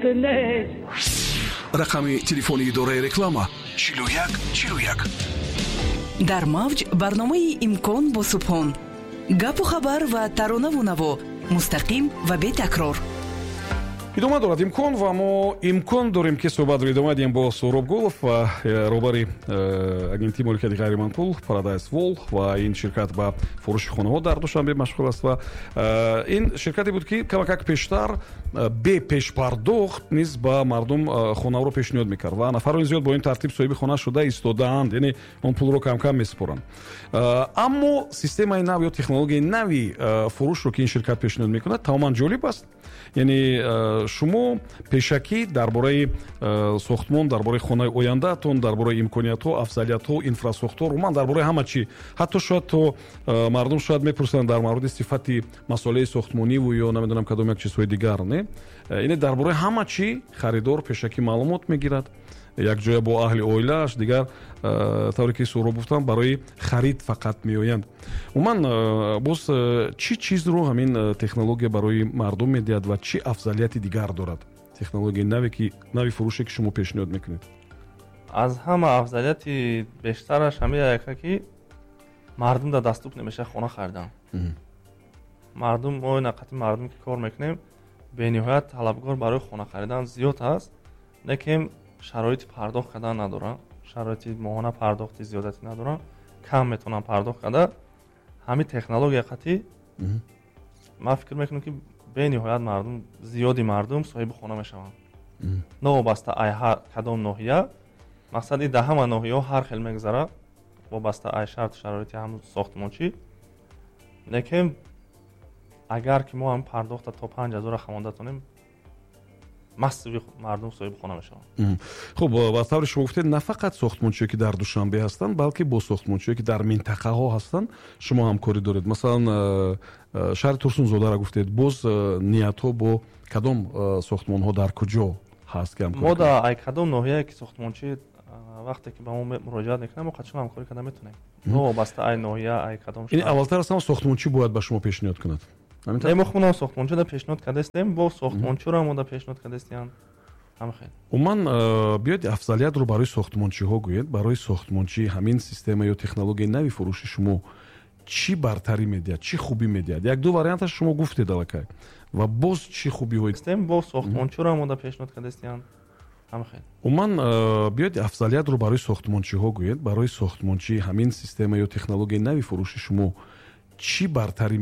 Нест. Рақами телефони идораи реклама: 41 41. Дар мавҷ барномаи «Имкон» бо Субҳон. Гапу хабар ва таронаву наво мустақим ва бетакрор. Идома дорад «Имкон», ва мо имкон дорем, ки суҳбатро идома диҳем бо Суҳроб Гулов ва роҳбари агентии моликияти ғайриманқул Парадайз Вол, ва ин ширкат ба фурӯши хонаҳо дар Душанбе машғул аст. Ва ин ширкате буд, ки камакак пештар бепешпардохт низ ба мардум хонаҳоро пешниҳод мекард ва нафарони зиёд бо ин тартиб соҳиби хона шуда истодаанд, яъне он пулро камкам месупоранд. Аммо системаи нав ё технологияи нави фурӯшро, ки ин ширкат пешниҳод мекунад, тамоман ҷолиб аст. Яъне шумо пешакӣ дар бораи сохтмон, дар бораи хонаи ояндаатон, дар бораи имкониятҳо, афзалиятҳо, инфрасохтор, умуман дар бораи ҳама чӣ, ҳатто шояд то мардум шояд мепурсанд дар мавриди сифати масолеҳи сохтмониву ё намедонам кадом як чизҳои дигар, не, яъне дар бораи ҳама чӣ харидор пешакӣ маълумот мегирад якҷоя бо аҳли оилааш. Дигар, тавре ки Суҳроб гуфтам, барои харид фақат меоянд. Умуман, боз чӣ чизро ҳамин технология барои мардум медиҳад ва чӣ афзалияти дигар дорад технологияи наве, ки нави фурӯше, ки шумо пешниҳод мекунед? Аз ҳама афзалияти бештараш ҳамин яка, ки мардум дар доступ намешавад хона харидан. Мардум, мо нақати мардум, ки кор мекунем, бениҳоят талабгор барои хона харидан зиёд ҳаст, лекин шароити пардохт кардан надоранд, шароити моҳона пардохти зиёдатӣ надоранд, кам метавонанд пардохт карда. Ҳамин технология қатъӣ, ман фикр мекунам, ки бениҳоят мардум, зиёди мардум соҳиби хона мешаванд, новобаста ай кадом ноҳия. Мақсади дар ҳама ноҳияҳо ҳар хел мегузарад, вобаста ай шарту шароити ҳамн сохтмончӣ. Лекин агар ки мо ҳам пардохта то 5000-ра хамонда тонем, массови мардум соҳиби хона мешаванд. Хуб, ба тавре шумо гуфтед, на фақат сохтмончие, ки дар Душанбе ҳастанд, балки бо сохтмончие, ки дар минтақаҳо ҳастанд, шумо ҳамкорӣ доред. Масалан, шаҳри Турсунзодаро гуфтед, боз ниятҳо бо кадом сохтмонҳо дар куҷо ҳаст, ки мо да ай кадом ноҳияе ки сохтмончӣ вақте ки ба мо муроҷиат мекунад, мо қатъан ҳамкорӣ карда метавонем, новобаста ай ноҳия, ай кадом. Ин аввалтар аз ҳама сохтмончӣ бояд ба шумо пешниҳод кунад? Не, мо худам сохтмончиро пешниҳод кардастем, бо сохтмончиро мо да пешниҳод кардастем. Умуман, биёед, афзалиятро барои сохтмончиҳо гӯед. Барои сохтмончӣ ҳамин система ё технологияи нави фурӯши шумо чӣ бартарӣ медиҳад, чӣ хубӣ медиҳад? Як ду варианташ шумо гуфтед аллакай, ва боз чӣ хубиҳои Бо сохтмончиро мо да пешниҳод кардастем. Умуман, биёед, афзалиятро барои сохтмончиҳо гӯед. Барои сохтмончӣ ҳамин система ё технологияи нави фурӯши шумо чӣ бартарӣ